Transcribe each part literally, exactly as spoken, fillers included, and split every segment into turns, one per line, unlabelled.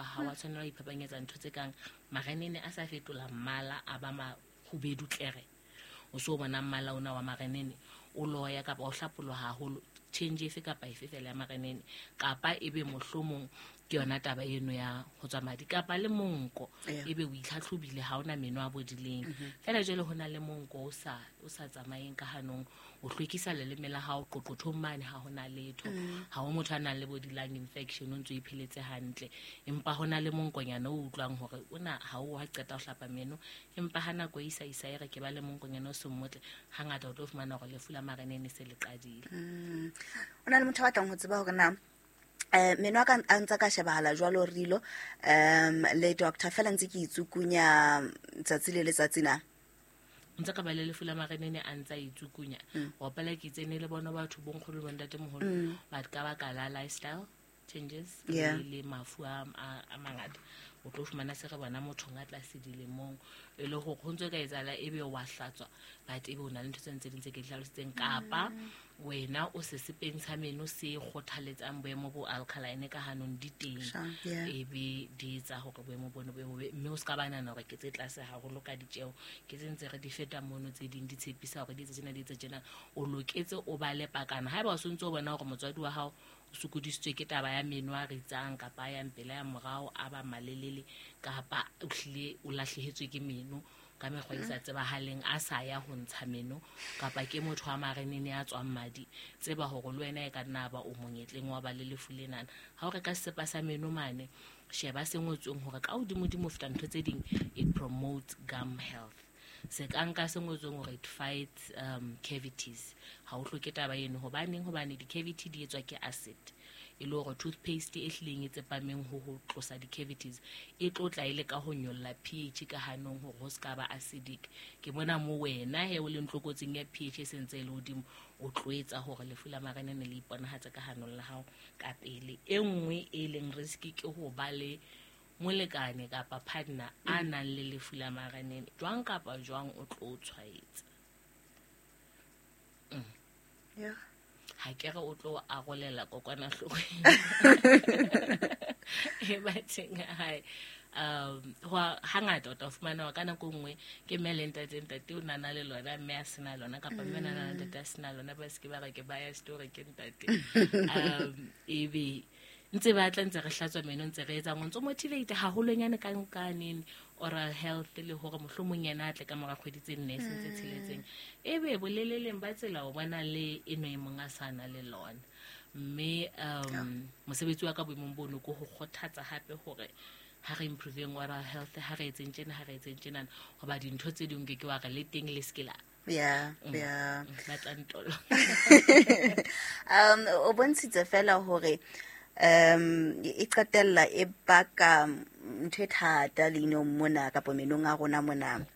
ha wa tshwanela ho iphapanyetsa ntho tse kang marenene a sa fetola mmala a ba mahubedu tlere. O so bona mmala ona wa marenene o loya kapa o hlapoloha haholo, change efe kapa efe fela ya marenene, kapa ebe mohlomong ke yona taba eno ya ho tswa madi kapa le monko, ebe o itlhatlhobile ha ona meno a bodileng. Fela jwale ho na le monko o sa o sa tsamaeng ka hanong, o hlwekisa leleme la hao qoqothong mane ha hona letho, ha ho motho a nang le bodilang infection, o ntso ipheletse hantle, empa hona le monkonyana o utlwang hore ona ha o ha qeta ho hlapa meno, empa ha nako e isa isa e re ke ba le monkonyana o seng motle, hangata o tlo fumana hore lefu la marenene se le qadile.
O na le motho a batlang ho tseba hore na eh meno a ka a ntsa ka shebahala jwalo rilo um le doctor fela ntse ke itsukunya tsatsi le letsatsi na
ntse ka ba le lefu la marenene a ntsa itsukunya wa pela ke tsene le bona batho bonkgolo le bontatemoholo ba ka baka la lifestyle changes le le mafu a a mangata, o tlo fumana se re bona motho nga tlase dilemong e le hore ho ntse ka etsahala ebe wa hlatswa but ebe o na le ntho tse ntse di ntse ke hlalositseng, kapa wena o se sepeng sa meno se kgothaletsang boemo bo alkaline ka hanong di teng, ebe di etsa hore boemo bono bo bobe, mme o ska ba nahana hore ke tse tlase haholo ka ditjeo, ke tse ntse re di feta mono tse ding di tshepisa hore di etse tjena di etse tjena, o loketse o ba le pakana. Haeba o sontse o bona hore motswadi wa hao o sokodisitswe ke taba ya meno a ritsang kapa ya mpela ya morao a ba malelele kapa o hlile o lahlehetswe ke meno ka mekgwa e sa tsebahaleng a sa ya ho ntsha meno kapa ke motho wa marenene a tswang madi, tseba hore le wena e ka nna ba o monyetleng wa ba le lefu lenana. Ha o reka sesepa sa meno mane, sheba se ngotsweng hore ka hodimodimo feta ntho tse ding, it promotes gum health. Se ka nka se ngotsweng hore it fights um, cavities. Ha o hloke taba eno, hobaneng? Hobane di-cavity di etswa ke acid, e le hore toothpaste e hlileng e tsepameng ho ho tlosa di-cavities e tlo tla e le ka ho nyolla pH ka hanong hore ho ska ba acidic. Ke bona mo wena he o leng tlokotsing ya pH e sentse e le hodimo, o tlo etsa hore lefu la marenene le iponahatse ka hanong la hao ka pele. E nngwe e leng risk ke ho ba le molekane kapa partner a nang le lefu la marenene, jwang kapa jwang o tlo tshwaetsa. Mm.
Yeah.
Ha ke re o tlo arolela kokwanahloko e bateng hae. Um ho hangata o tla fumana ka nako nngwe ke mme le ntate, ntate o nana le lona mme a sena lona, kapa mme nana le ntate a sena lona, ba se ke ba re ke baya story ke ntate. Um ebe ntse ba tla ntse re hlatswa meno ntse re etsa ntse motivate haholonyane ka nkaneng oral health le hore mohlomong yena a tle ka mora kgwedi tse nne sentse tsheletseng, ebe boleleleng ba tsela o bona le eno e mong a sana le lona. Mme um mosebetsi wa ka boemong bono ke ho kgothatsa hape hore ha re improveng oral health, ha re etseng tjena, ha re etseng tjena, hoba dintho tse ding ke ke wa re le teng le se ke la
Yeah, yeah.
Ba tla ntolo.
Um o bontshitse fela hore um e qetella e baka ntho e thata leinong mona kapa menong a rona mona.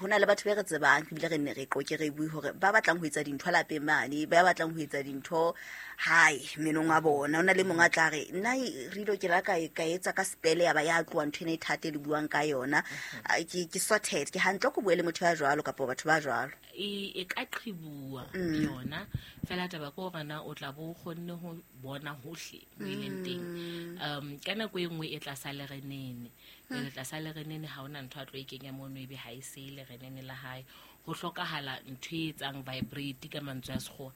Ho na le batho be re tsebang ebile re nne re qoke re bue hore ba batlang ho etsa dintho lapeng mane, ba batlang ho etsa dintho hae menong a bona. Ho na le mong a tla re nna re ke la ka ka etsa ka spele ya ba ya tloha ntho ena e thata e le buang ka yona, ke ke sorted, ke hantle ko bue le motho ya jwalo kapa batho ba jwalo.
E e ka qhibuwa yona fela taba ke hore na o tla bo kgonne ho bona hohle mo e leng teng. Um ka nako e nngwe e tlasa lerenene, le tlasa lerenene ha ona ntho a tlo e kenya mono ebe ha e se lerenene la hae. Ho hlokahala ntho e etsang vibrate ka mantswe a sekgowa,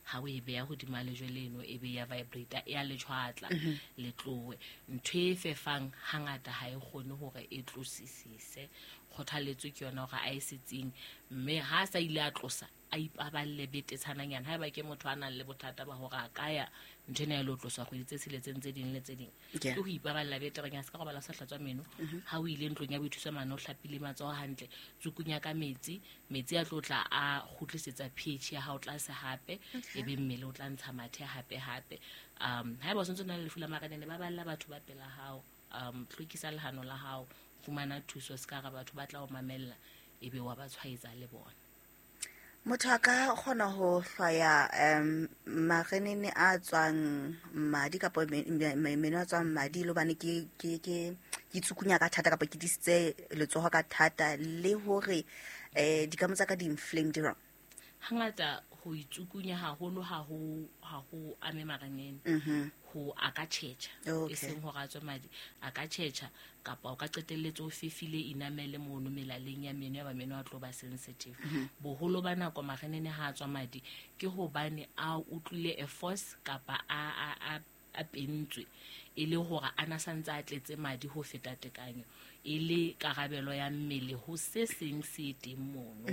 ha o e beha hodima lejwe leno ebe ya vibrate ya lejwatla le tlowe. Ntho e fefang hangata ha e kgone hore e tlosisise. Kgothaletso ke yona hore a e setseng, mme ha sa ile a tlosa a ipaballe betetshananyana. Haeba ke motho a nang le bothata ba hore a ka ya ntho ena e lo tloswa kgwedi tse tsheletseng tse ding le tse ding, ke ho ipaballa betereng ya se ka robala sa hlatswa meno. Ha o ile ntlong ya boithuso mane o hlapile matsoho hantle, tsukunya ka metsi, metsi a tlo tla a kgutlisetsa pH ya hao tlase hape, ebe mmele o tla ntsha mathe hape hape. Um haeba o sentse o na le lefu la marenene, ba balla batho ba pela hao, um hlwekisa lehano la hao, fumana thuso se ka re batho ba tla o mamella ebe wa ba tshwaetsa le bona.
Motho a ka kgona ho hlwaya um marenene a tswang madi kapa meno a tswang madi le hobane ke ke ke ke tsukunya ka thata kapa ke disitse letsoho ka thata, le hore eh dikamo tsa ka di inflamed jwang?
Hangata Go itsukunya haholo ha ho ha ho ame marenene. Ho a ka tjhetjha e seng hore a tswe madi, a ka tjhetjha kapa o ka qetelletse o fefile enamel mono melaleng ya meno ya ba meno a tlo ba sensitive. Boholo ba nako marenene ha a tswa madi ke hobane a utlwile a force kapa a a a pentswe e le hore a na santse a tletse madi ho feta tekanyo e le karabelo ya mmele ho se seng se teng mono.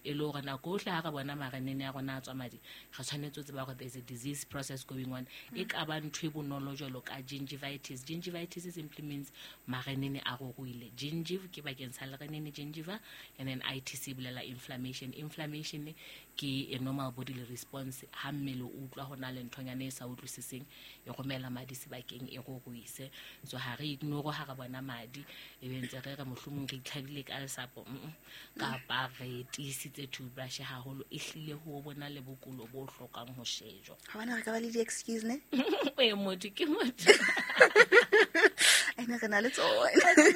E le hore nako ohle ha re bona marenene a rona a tswa madi re tshwanetse ho tseba hore there's a disease process going on. E ka ba ntho e bonolo jwalo ka gingivitis. Gingivitis simply means marenene a ruruile. Gingiv ke bakeng sa lerenene gingiva, and then itis e bolela inflammation. Inflammation ke a normal bodily response ha mmele o utlwa ho na le nthonyana e sa utlwisiseng e romela madi sebakeng e ruruise. So ha re ignore ha re bona madi e be ntse re re mohlomong re itlhabile ka lesapo kapa re tiisitse toothbrush haholo, e hlile ho bona le bokulo bo hlokang ho shejwa.
Ha bana re ka ba le di-excuse ne?
E motho ke motho.
Ene re na le tsona.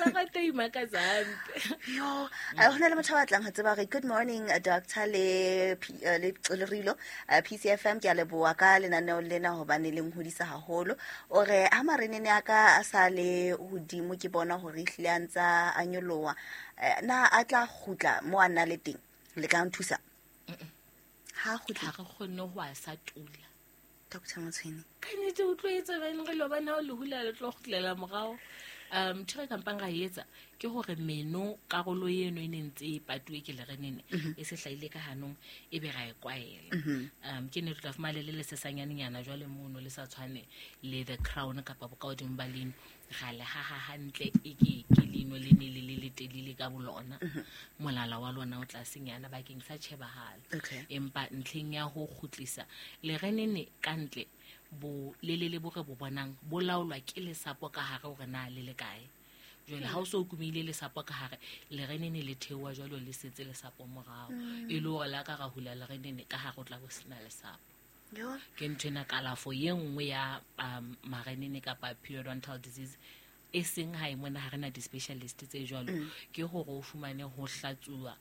Ba rata imakatsa hampe.
Yo, ho na le motho a batlang ho tseba hore good morning doctor le le le Rilo P C F M, ke a leboha ka lenaneo lena hobane le nhodisa haholo. O re ha marenene a ka a sa le hodimo ke bona hore ehlile a ntsa a nyoloha, na a tla kgutla mo a nna le teng le ka nthusa? Ha kgutla
ha re kgone ho a sa tula.
Doctor Motshweni
ka nnete o tlo etsa beng re lo bona o le hula le tlo kgutlela morao. Um ntho e kampang ra etsa ke hore meno karolo eno e ne ntse e patuwe ke lerenene e se hlahile ka hanong e be ra e kwaela. Um ke ne re tla fumana le le sesanyanenyana jwale mono le sa tshwane le the crown kapa bokahodimo ba leno ra le haha hantle e ke ke leno le ne le le letelele ka bolona molala wa lona o tlasenyana bakeng sa tjhebahalo. Empa ntlheng ya ho kgutlisa lerenene ka ntle bo le le le bo re bo bonang bo laolwa ke lesapo ka hare hore na le le kae. Jwale ha o so kumile lesapo ka hare lerenene le theoha jwalo le setse lesapo morao e le hore la ka ra hula lerenene ka hare o tla bo sena lesapo. Ke ntho ena kalafo ye nngwe ya um, marenene kapa periodontal disease e seng ha e mona ha rena di-specialist tse jwalo ke hore o fumane ho hlatsuwa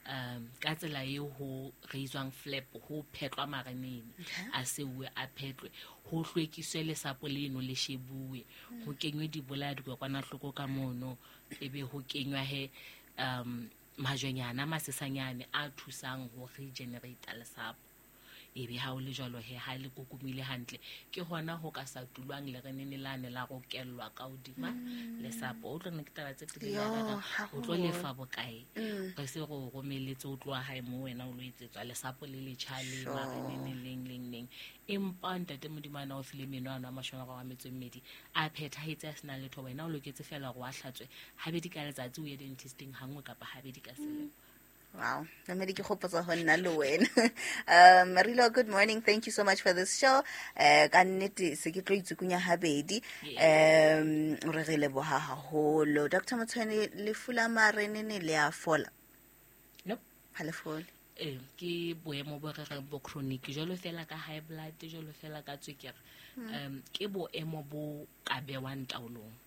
um ka tsela e ho reiswang flap ho phetlwa marenene a seuwe a phetlwe ho hlwekiswe lesapo leno le shebuwe ho kenywe dibolaya dikokwanahloko ka mono ebe ho kenywa he um majwenyana masesanyane a thusang ho regenerate lesapo. Ebe ha o le jwalo he ha le kokomile hantle ke hona ho ka sa tulwang lerenene lane la rokellwa ka hodima lesapo. O tlo nna ke taba tse telele ya o tlo lefa bokae re se go romeletse o tloha hae mo wena o lo etsetswa lesapo le letjha le marenene leng leng leng. Empa ntate Modimo ana o file meno ano a mashome a mararo a metso e mmedi a phethahetse a sena letho, wena o loketse fela hore wa hlatswe habedi ka letsatsi o ye dentisting hangwe kapa habedi ka selemo.
Wow, namedi ke gopotsa ho nna le wena. Um Marilo, good morning. Thank you so much for this show. Eh ka nnete se ke tlo itsukunya habedi. Um re re leboha haholo. Doctor Motshweni, lefu la marenene le a fola?
Nope.
Ha le fole.
Eh ke boemo bo re reng bo chronic jwalo fela ka high blood jwalo fela ka tswekere. Um ke boemo bo ka bewang taolong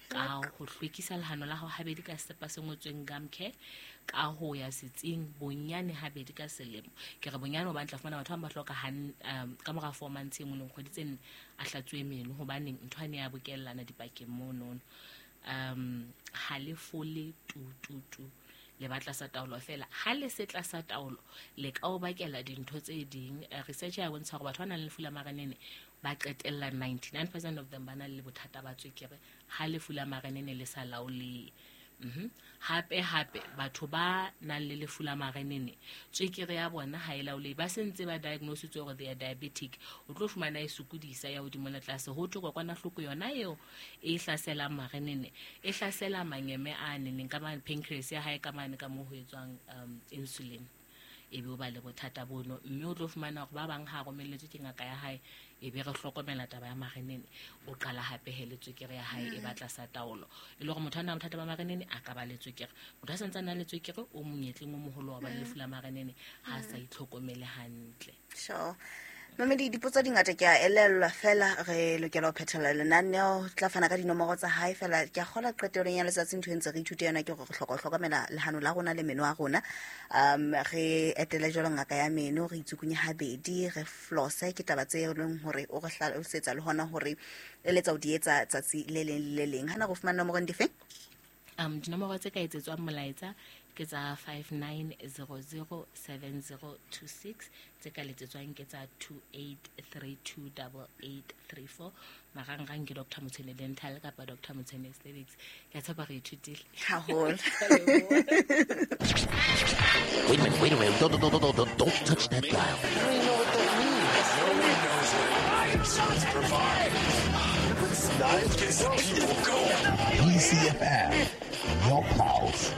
ka ho hlwekisa lehano la hao habedi ka sesepa se ngotsweng gum care, ka ho ya setsing bonyane habedi ka selemo. Ke re bonyane hobane tla fumana batho ba ba hloka han um ka mora four months e nngwe le kgwedi tse nne a hlatsuwe meno hobaneng ntho ane ya bokellana dipakeng monono. Um ha le fole tu tu tu le batla sa taolo fela. Ha le se tlasa taolo le ka o bakela dintho tse ding. Research ya bontsha hore batho ba nang le lefu la marenene ba qetella ninety-nine percent of them ba na le bothata ba tswekere ha lefu la marenene le sa laolehe. Mhm. Hape hape batho ba nang le lefu la marenene tswekere ya bona ha e laolehe, ba sentse ba diagnositswe hore they are diabetic. O tlo fumana e sokodisa ya hodimo le tlase ho thwe kokwanahloko yona eo e hlaselang marenene e hlasela manyeme a neneng ka mane pancreas ya hae ka mane ka moo ho etswang um insulin e be o ba le bothata bono. Mme o tlo fumana hore ba bang ha romelletswe ke ngaka ya hae e be re hlokomela taba ya marenene o qala hape he le tswekere ya hae e batla sa taolo. E le hore motho a nang bothata ba marenene a ka ba le tswekere, motho a santse a na le tswekere o monyetleng o moholo wa ba le lefu la marenene ha sa itlhokomele hantle.
Sure. Mamedi, dipotso di ngata ke a elellwa fela re lokela ho phethela lenaneo, tla fana ka dinomoro tsa hae fela. Ke a kgola qetellong ya letsatsi ntho e ntse re ithute yona ke hore re hloka ho hlokomela lehano la rona le meno a rona. Um re etele jwalo ngaka ya meno, re itsukunye habedi, re flosse, ke taba tse leng hore o re hlalosetsa le hona hore eletsa o di etsa tsatsi le leng le le leng. Hana go fumana nomoro dife?
Um dinomoro tse ka etsetswang molaetsa ke tsa five nine zero zero seven zero two six, tse ka letsetswang ke tsa two eight three two double eight three four. Marangrang ke Doctor Motshene Dental kapa Doctor Motshene Aesthetics. Ke a tshepa re ithutile
haholo.
Wait a minute, wait a minute. Don't, don't, don't, don't, don't, don't touch that dial.
B C F M, your pulse.